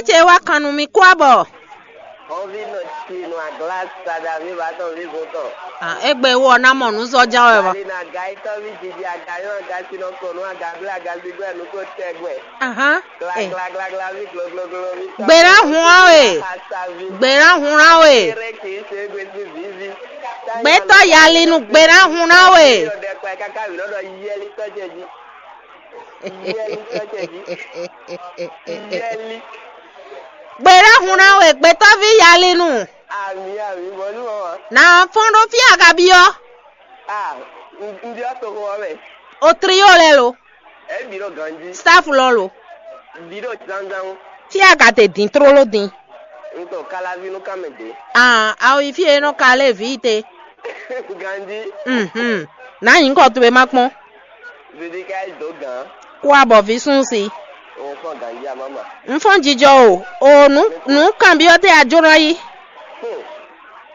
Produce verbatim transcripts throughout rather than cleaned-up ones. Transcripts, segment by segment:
ce wá kan nú mì kú abɔ. Hɔnvi nɔ ci nɔ agla sada mi ba tɔn vi gun tɔn. Ah, egbe wɔ na mɔ nú zɔ ja wɛ ba. Bali na aga itɔ vi didi aga yɔ aga si nɔ kɔ nú aga ble aga gbigbe nu ko tɛgbɛ. Ahan. Gla Eh. gla gla gla vi glo glo glo vi. Gbera hun awe. Asa vi. Gbera hun awe. Kere kì í ṣe gbèsè vivi. Gbɛtɔ yali nu gbera hun awe. Yɔ dɛ kpa kaka wi lɔ dɔ yɛli tɔjɛ ji. Yɛli tɔjɛ ji. Yɛli. Gbera hun awe gbɛtɔvi yali nu. Ami ami bɔnu ɔ. Na fɔn ɖo fí agabi ɔ. Ah, n n bi ɔ to xɔ mɛ. O trio lɛ lo. Ɛ bi ɖo ganji. Staff lɔ lo. Bi ɖo zanzan. Fí agate din trolo din. N to kalavi nu kame de. Ah, awo yi fí e nɔ kale vi te. Ganji. Mhm. Na nyi ŋkɔ towe ma kpɔn. Didi ka yi do gan. Kó abɔ vi sún si. O fɔ ganji amama. N fɔn jijɔ o. O nu nu kan bi ɔ te a jona yi. Hmm.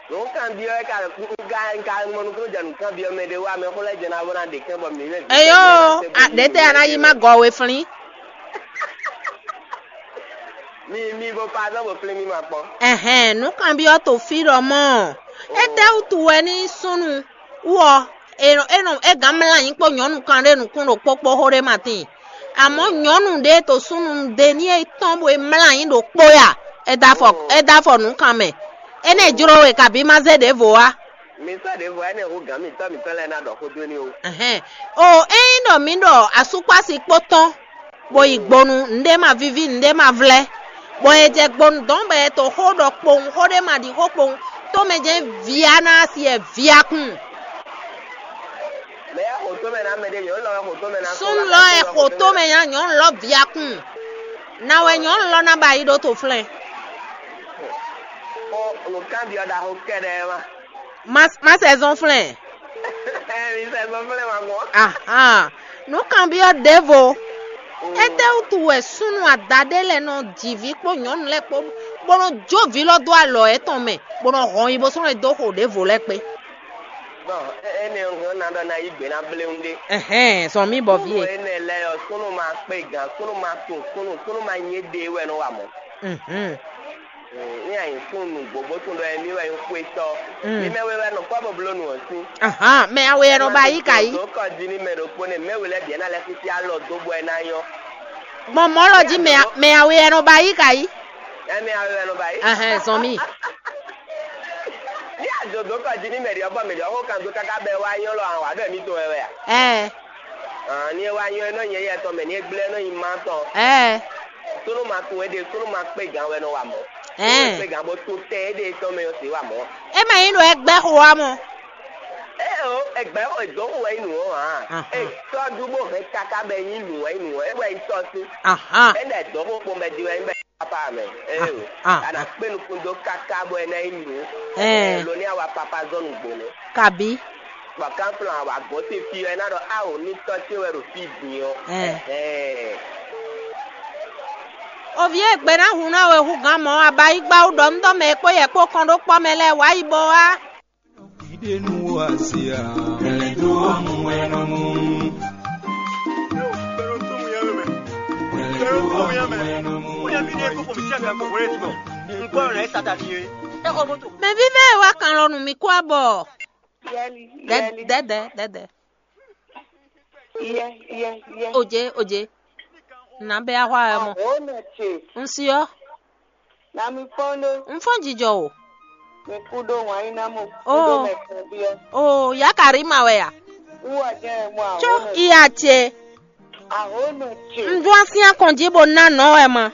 Nǔkanbyɔ́ wɛ ka ga ka mɔ nukúnnú jɛ nǔkanbyɔ́ mɛ ɖé wá mɛ xó lɛ́ɛ jɛ ná bó ná ɖe kɛ́n bɔ mǐ mɛ. Eyo, a ɖe tɛ a ná yi ma gɔ we flín. Mi mi bo pa azɔn bo flín mi ma kpɔn. Ɛhɛn, nǔkanbyɔ́ to fí ɖɔ mɔ. Étɛ́ wútu wɛ ní súnnu wú ɔ? E nɔ e nɔ e gǎn mlá anyi kpó nyɔ̌nu kan ɖé nukún ɖo kpókpó xó ɖé ma tíin. Amɔ̌ nyɔ̌nu ɖé to súnnu ɖe ní e tɔ́n bo e mlá anyi ɖo kpó ya. E da afɔ e da afɔ nǔkan mɛ. Énɛ́ jló we kabǐ ma zé ɖěvo wá. Mi sɔ́ ɖěvo wá énɛ́ hú gǎn mǐtɔn mǐtɔn lɛ́ɛ ná ɖɔ xó dó ní o. Ɛhɛn. O ényí ɖɔ mǐ ɖɔ asúkpási kpó tɔn, bó yi gbonu, nǔɖé ma víví, nǔɖé ma vlɛ́, bɔ è jɛ gbonu dɔ̌n bɔ è to xó ɖɔ kpowun, xó ɖé ma ɖi xó kpowun, tómɛ jɛ́n via ná si ɛ via kun. Mɛ ya xo tómɛ ná mɛ ɖé nyɔ̌nu lɔ wɛ xo tómɛ ná. Súnnu lɔ ɛ xo tómɛ nya nyɔ̌nu lɔ via kun. Na wɛ nyɔ̌nu lɔ ná ba yi ɖó to flɛ́n. Xo nǔkanbyɔ́ ɖaxó kɛɖɛɛ ma. Má má sɛ zɔn flɛ́n. Ɛ mi sɛ zɔn flɛ́n ma gbɔn. Ahan. Nǔkanbyɔ́ ɖěvo. Étɛ́wútu wɛ súnnu ada ɖé lɛ́ɛ nɔ ji vǐ kpó nyɔ̌nu lɛ́ɛ kpó, bó nɔ jó vǐ lɔ dó alɔ yětɔn mɛ, bó nɔ hɔn yi bó sɔ́ nɔ dó xo ɖěvo lɛ́ɛ kpé? Bɔn énɛ́ ɔ́ hɛn ná ɖɔ ná yí gbe ná bléwún ɖé. Ɛhɛn, zɔn mì bɔ vǐ e. Énɛ́ lɛ́ɛ ɔ́, súnnu ma kpé gǎn, súnnu ma tunwun súnnu, súnnu ma nyí ɖe wɛ nɔ wa mɔ̌. Mhm. Ní a nyǐ kún nǔgbó bó tún ɖɔ émí wɛ nyí xwétɔ́. Mm. Mí mɛ we wɛ nɔ kpɔ́ bó bló nǔ ɔ́ sín. Ahan, mɛ awe yɛ nɔ ba yí ka yí. Dǒ kɔ jí ní mɛ ɖokpó nɛ mɛ we lɛ́ bǐ ɛ ná lɛ́ sísí alɔ dó bɔ ɛ ná nyɔ́. Gbɔn mɔ̌ lɔ jí mɛ mɛ awe yɛ nɔ ba yí ka yí. Ɛ mɛ awe wɛ nɔ ba yí. Ahɛn, zɔn mì. Ní a dǒ dǒ kɔ jí ní mɛ ɖě ɔ́ bɔ mɛ ɖě ɔ́ xó kan dó káká bɔ ɛ wá nyɔ́ lɔ awǎ ɖɔ émí tɔn wɛ wɛ a? Ɛɛ. Ní e wá nyɔ́ é nɔ nyɛ yɛ tɔn mɛ ní e gblɛ́ é nɔ nyi má tɔn. Ɛɛ. Súnnu ma tunwun éɖée, súnnu ma kpé gǎn wɛ nɔ wa mɔ̌. Ɛɛ. Súnnu e kpé gǎn bó tún tɛn éɖée tɔn mɛ ɔ́ sǐ wa mɔ̌. É ma nyí ɖɔ é gbɛ́ xo wá mɔ. Ée o, è gbɛ̌ xo è dǒ xo wɛ nyí nǔ ɔ́ ǎ. Ahan. È tɔ́jú bó hɛn káká bɔ é nyí nǔ wɛ nyí nǔ ɔ́, é wɛ nyí tɔ́ sín. Ahan. É ɖɛ dǒ xo kpɔn bɛ din wɛ nyí bɛ papa mɛ. Ée o, Ah, ah, a nǎ ah. Kpé nukún dó káká bɔ é ná nyí nǔ. Ɛɛ. Lo ní a wa papa zɔ́ nǔgbó nɛ́. Kabí. Bɔ kánflɔ́n a wa gɔ̌n sín fí ɔ́, é ná ɖɔ áwǒ ní tɔ́ ce wɛ ɖo fí din ɔ́. Ɛɛ. Ɛhɛn. Ovi e gbe ná hun ná we hú gǎn mɔ̌, abayígbá wú ɖɔ un dɔ́ mɛ e kpó yɛ kpó kɔn ɖó kpɔ́ mɛ lɛ́ɛ wǎ yi bo wá. Ìdénú àsíá. Mẹ̀lẹ́dó ọmọ ẹnu mú. Mẹ̀lẹ́dó ọmọ ẹnu mú. Mɛ vívɛ wa kan lɔ nú mi kó abɔ. Yɛli, Dɛ yɛli, dɛ dɛ dɛ dɛ. Yɛ, yɛ, yɛ. Oje oje. Na bɛ ahwa ɛ mɔ. Ahonɔ ce, N si ɔ. Na mi fɔn ɖó. N fɔn jijɔ o. Mi kú ɖó wǎn yín ná mo kú Oh. Ɖó mɛ kan byɔ́. O ya ka rí ma wɛ ya. Wú ɔ jẹ́ ɛ mɔ Tso ahonɔ. Iya ce. Ahonɔ ce. N dún asi akɔn jí bo ná nɔ wɛ ma.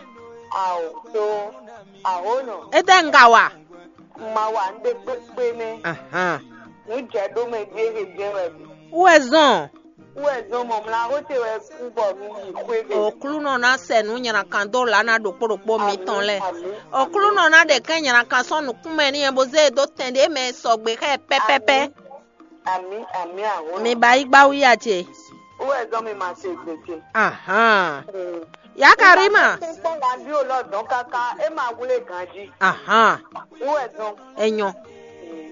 Ao tó ahonɔ. Ete n ka wa. Ma wa n ɖe kpékpé nɛ. Ahan. Nǔ jɛ ɖó mɛ jí ehe jɛ wɛ mi. Wɛ zɔn. Wɛ zɔn mɔ mla xó te wɛ kú bɔ mi yi xwé ɖe. Oklunɔ ná sɛ nǔ nyrakan dó lǎ ná ɖokpó ɖokpó mitɔn lɛ. Oklunɔ ná ɖe kɛn nyrakan sɔ́ nukúnmɛ n'i bó zé e dó tɛn ɖé mɛ sɔgbe xɛ pɛpɛpɛ. Ami ami ahonɔ. Mi ba yi gba wíya ce. Wɛ zɔn mi ma se gbe ce. Ahan. Mm. Ya Karima. Kpɔn la bi o lɔ dɔn kaka e ma wle ganji. Ahan. Wɛ zɔn. Enyɔ.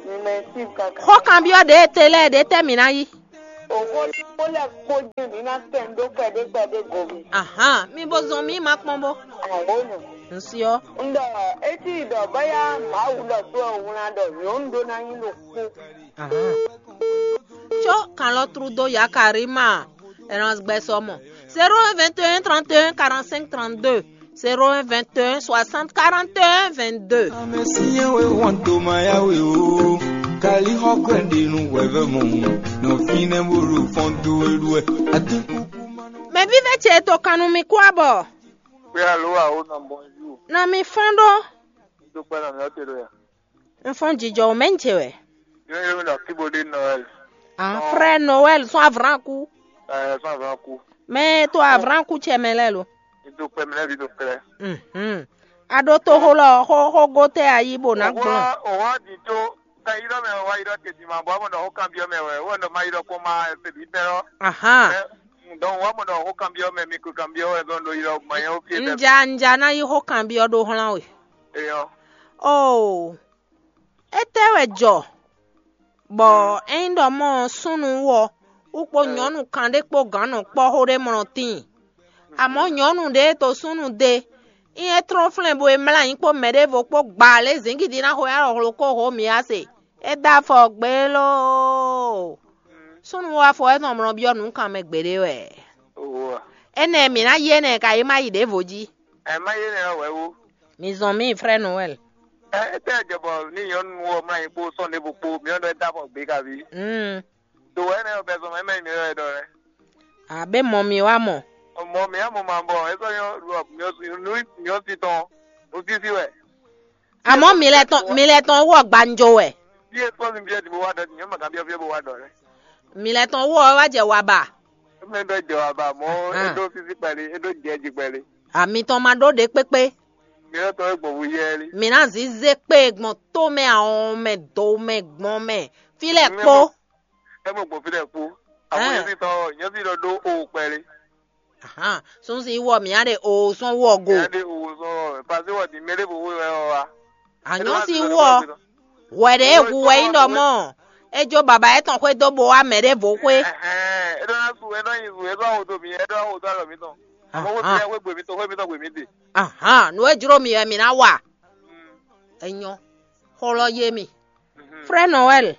Mi mɛ si kaka. Xɔ kan biɔ ɖe te lɛ ɖe tɛ mi na yi. Òxó kpó lɛ́ kpó jɛ́n mǐ ná tɛn dó kpɛɖé kpɛɖé go mì. Ahan, mi bo zɔn mì ma kpɔ́n bó. Ahónú. Ŋsyɔ. Un ɖɔ étí ɖɔ bóyá Mawu ɖɔ tó ɔ́ wlán ɖɔ nyɔ̌nu ɖó ná nyí ɖokpó. Ahan. Tso kan lɔ trú dó Yakarima Erasgbɛ sɔ mɔ. Zéro un vingt et un trente et un quarante-cinq trente-deux. Zéro un vingt et un soixante quarante et un vingt-deux. Amesiye we wan to ma ya we o. Kali hɔ kwende nu wɛvɛ mɔ. No fine bulu fɔntu eluɛ. Ati kuku ma no. Mɛ vívɛ ce to kanu mi kú abɔ. Pé alo a ó nɔ bonjour. Na mi fɔn ɖó. Tó pẹ́ náà mi ɔ́ te ɖo ya. N fɔn jijɔ o mɛ n ce wɛ. Yóò yóò mi ɖɔ kíbo ɖé Noël. Ah, frère Noël sɔn avranku. Ɛ sɔn avranku. Mɛ to avranku cɛ mɛ lɛ lo. Mi do kpɛ mi lɛ bi do klɛ. Mhm. A ɖo to xo lɔ xo xo go tɛ ayi bo na gblɔn. Òwò di tó. Ka yi ɖɔ mɛ wa yi ɖɔ tètè ma bɔ amɔ ɖɔ xó kan biɔ mɛ wɛ wɛ ɖɔ ma yi ɖɔ kpɔn ma fɛ bi bɛ lɔ. Ahan. Donc wa mɔ ɖɔ xó kan biɔ mɛ mi ko kan biɔ wɛ zɔn ɖo yi ɖɔ ma yɛ wo fie bɛ. Nja nja na yi xó kan biɔ ɖo xlán we. Eyɔ. Oh. Étɛ́ wɛ jɔ bɔ ényí ɖɔ mɔ súnnu wɔ wú kpó nyɔ̌nu kan ɖé kpó gǎn nɔ kpɔ́ xó ɖé mlɔ tíin. Amɔ̌ nyɔ̌nu ɖě e to súnnu dé, nyí é tlɔ́n flɛ́n bo e mlá nyǐ kpó mɛ ɖěvo kpó gbaa lě zǐngídi ná xo alɔ hlo kó hǒ mǐ a se. É dó afɔ gbé lóo. Súnnu wá afɔ wɛ tɔn mlɔ byɔ́ nǔ kan mɛ gbeɖé wɛ. Owa. Énɛ́ mǐ ná yí énɛ́ ka yi má yi ɖěvo jí. Ɛ má yé nɛ wɛ wú. Mi zɔn mì frère Noël. Ɛ étɛ́ jɛ bɔ ní nyɔ̌nu ɔ́ mlá nyí kpó sɔ́n ɖěvo kpó mǐ ɔ́ ɖɔ é dó afɔ gbé kaví. Mm. Do wɛ nɛ ɔ́ bɛ zɔn mɛ mɛ nyí mǐ wɛ ɖɔ lɛ. Abe mɔ mi wá mɔ. Mɔ mǐ á mɔ ma bɔ é sɔ́ nyɔ́ ɖɔ mǐ ɔ́ mǐ ɔ́ sí tɔn nú sísí wɛ. Àmọ́ mi lɛ tɔn mi lɛ tɔn wɔ gbanjo wɛ. Bí é sɔ́ mi bí é di bó wá ɖɔ nyɔ̌nu màgá bí ɔ́ fí é bó wá ɖɔ lɛ. Mi lɛ tɔn wɔ wá jɛ wa ba. Mɛ ɖɔ jɛ wa ba mɔ é ɖó sísí kpɛlí é ɖó jɛ jí kpɛlí. Àmì tɔn ma ɖó ɖe kpékpé. Mi ɔ́ tɔn é gbɔn wú yɛ lí. Mi ná zǐzé kpé gbɔn tó mɛ àwọn mɛ do mɛ gbɔn mɛ. Fí lɛ kpó. É mɔ gbɔn fí lɛ kpó. Àwọn yẹn sì tɔ yẹn sì lọ ɖó o kpɛlí. Ahan, sunsi wɔ mǐ á ɖe o sɔn wɔ go. Mǐ á ɖe o sɔn wɔ mɛ pase wɔ di mɛ ɖé bo wé wɛ wɔ wa. Anyɔ si wɔ. Wɛ ɖe e hu wɛ nyí ɖɔ mɔ. Ejo baba etɔn xwé dó bo wá mɛ ɖé vo xwé. Ɛhɛn, é ɖɔ ná su é ɖɔ nyi su é ɖɔ awo dó mi é ɖɔ awo dó alɔ mi tɔn. Àmọ́ wé mi wé gbè mi tɔn xwé mi tɔn gbè mi de. Ahan, nú e jló mi wɛ mi ná wa. Enyɔ, xó lɔ yé mi. Frère Noël.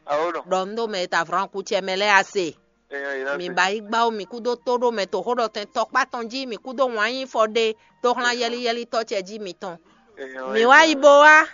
Awo nɔ. Ɖɔ un ɖo mɛ e ta vrɔn kú cɛ mɛ lɛ́ɛ a se. Enyɔ yi ná Mi se. Ba yi gbá wo mi kúdó tóɖó mɛ to xó ɖɔ tɛn tɔkpá tɔn jí mi kúdó wǎn yí fɔ ɖé tó xlán yɛlíyɛlítɔ́ cɛ jí mitɔn. Enyɔ Mi yi wá ná yi se. Bo wá.